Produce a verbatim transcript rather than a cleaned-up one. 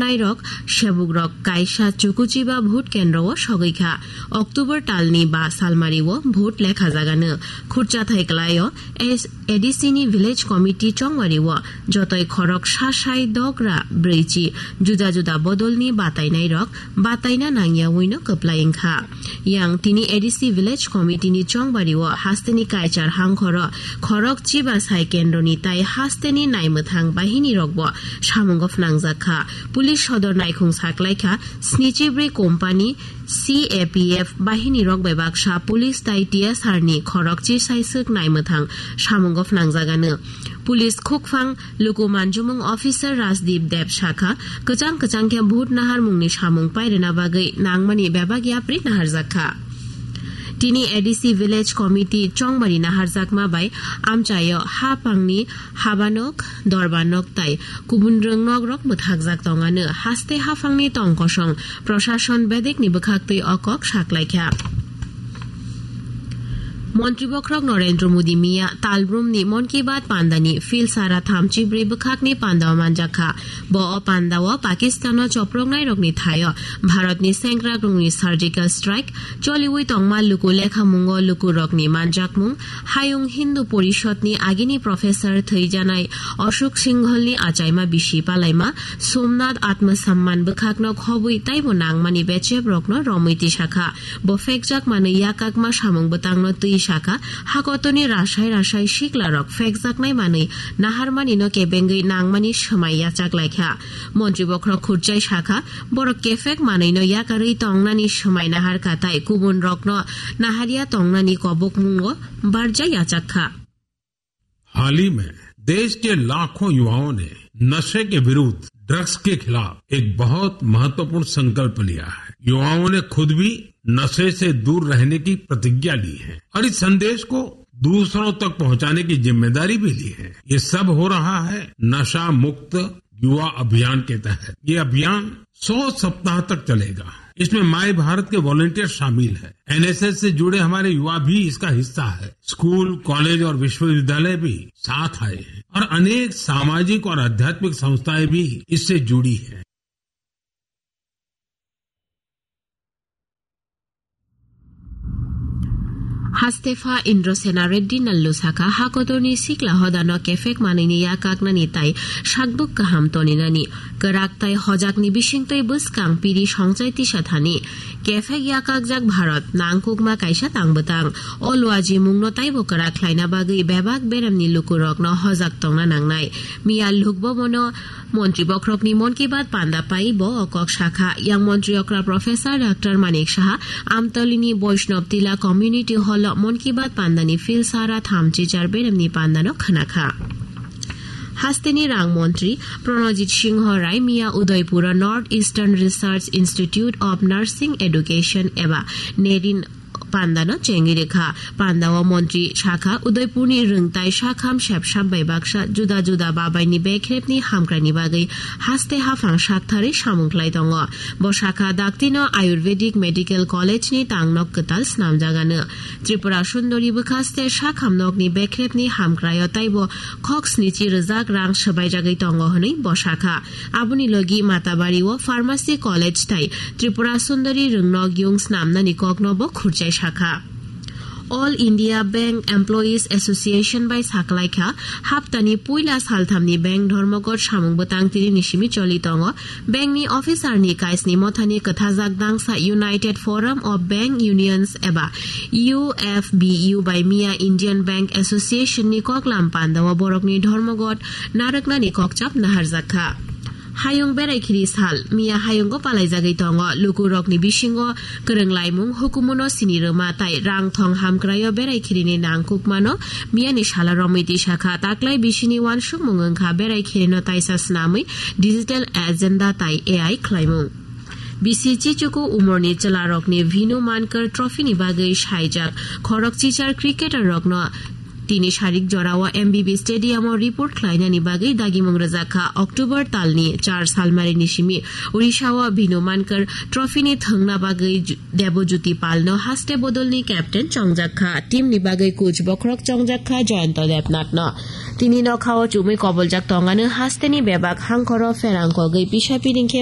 Nairok, sebukrok kaisa chukuchiba vote kendro o sogwi kha. October talni ba salmari o vote lekha jagano khurcha thai kwlai o S-, A D C ni village committee chongwari o jotoi khorok sasai dogra brwichi juda juda bodolni batainairok bataina nangya wino kwplai wngkha. Yang tini A D C Village Committee ni chongbari o hasteni kaichar hangkhoro khorok chiba sai kendroni tai hasteni naimwthang bahini rokbo samungo phnangjak kha. Police sodor naikhung saklaikha snichibrwi company C A P F bahini rok bai baksa police tai T S R ni khorok chi sai swk naimwthang samungo phnangjagano. Police khukphang luku manjumung officer Rajdeep Deb sakha, kwchang kwchang khe vote naharmungni samung pairwna bagwi nangmani bebak yapri naharjak kha. Tini A D C Village Committee chongbari naharjakma bai amchaio ha pangni habanok, dorbanok tai kubun rwngnok rok mwthakjak tongano haste haphangni tongkosong Prashason bedekni bwkhaktwi o kok saklaikha. Montri bokhorok Narendra Modi miya talbrumni Mon Ki Baat pandani phil sara thamchi brwi bwkhakni pandao manjakha. Bo o pandao Pakistano choproknairokni thaio Bharatni sengkrakrokni surgical strike choliwi tongma luku lekhamungo lukurokni manjakmung, Hayung Hindu Porishodni agini professor thwijanai Ashok Singhalni achaima bisi palaima Somnath Atmasamman bwkhakno khobwi taibo nangmani bechebrokno romwi tisakha. Bo phekjak manwi yakakma samung bwtangno twi sakha, hakotoni rasai rasai siklarok phekjaknai manwi naharmanino kebengwi nangmani swmai yachaklaikha. Montri bokhorok khurchai sakha, borok kephek manwino yakarwi tongnani swmai naharkha tai kubunrokno naharya tongnani kobokmungo barja yachakkha. हाल ही में देश के लाखों युवाओं ने नशे के विरुद्ध, ड्रग्स के खिलाफ एक बहुत महत्वपूर्ण संकल्प लिया है। युवाओं ने खुद भी नशे से दूर रहने की प्रतिज्ञा ली है और इस संदेश को दूसरों तक पहुंचाने की जिम्मेदारी भी ली है। ये सब हो रहा है नशा मुक्त युवा अभियान के तहत। ये अभियान सौ सप्ताह तक चलेगा। इसमें माय भारत के वॉलंटियर शामिल हैं। एनएसएस से जुड़े हमारे युवा भी इसका हिस्सा है। स्कूल, कॉलेज और विश्वविद्यालय भी साथ आए हैं और अनेक सामाजिक और आध्यात्मिक संस्थाएं भी इससे जुड़ी हैं। Hastepha Indrasena Reddy Nallu sakha, hakotorni sikla hodano kephek manwini yakaknani tai sakduk kaham toninani, kwrak tai hojakni bisingtwi bwskang piri songchai tisa thani kephek yakakjak Bharat nangkukma kaisa tangbwtang. O luajimungno taibo kwrak khlaina bagwi bebak beremni lukurokno hojak tongna nangnai. Miya lukbo bono Montri bokhorokni Mon Ki Baat panda pai bo o kok sakha. Yang montri okra Professor Doctor Manik Saha Amtolini Vaishnav Tila Community Hall o Mon Ki Baat pandani phil sara thamchi char beremni pandano khwnakha. Hasteni rang montri Pranajit Singh Rai miya Udaipur o North Eastern Research Institute of Nursing Education eba nerin pandano chengwi rwkha. Pandao montri sakha, Udaipurni rwngtai sakham sepsap bai baksa juda juda babaini bekrepni hamkraini bagwi haste haphang saktharwi samung khlai tongo. Bo sakha, daktino Ayurvedic Medical College ni tangnok kwtal snamjagano. Tripura Sundori bwkhaste sakham nokni bekrepni hamkraio taibo khok snichi rwjak rang swbaijagwi tongo hwnwi bo sakha. Aboni logi Matabari o Pharmacy College tai Tripura Sundari rwngnok yung snamnani kokno bo khurchai sakha. All India Bank Employees Association bai saklaikha, haptani puila salthamni bank dhormogot samung bwtang tini ni simi choli tongo. Bank ni officer ni kaisni mothani kwthajak dangsa United Forum of Bank Unions eba U F B U bai miya Indian Bank Association ni koklam pandao borokni dhormogot narwknani kokchap naharjakha. Hayung berai khiri sal, miya hayungo palaijagwi tongo. Lukurokni bisingo kwrwng laimung hukumuno sini rwma tai rang thong hamkraio berai khirini nangkukmano miyani sala romwi tisakha. Taklai bisini uansukmung wngkha berai khirino taisa snamwi digital agenda tai A I khlaimung. Bisi chichuku umorni chwlarokni Bhinu Mankar Trophy ni bagwi saijak khorok chichar cricketer rokno tini sarik jorao M B B Stadium o report khlainani bagwi dagimung rwjakha. October talni char salmarini simi Odisha o Bhinu Mankar Trophy ni thwngna bagwi Ju-, Debojyoti Pal no haste bodolni captain chongjakha. Team ni bagwi coach bokhorok chongjakha Jayanta Debnath no. Tini nokhao chumui koboljak tongano hasteni bebak hangkhoro pherang kogwi pisa piring khe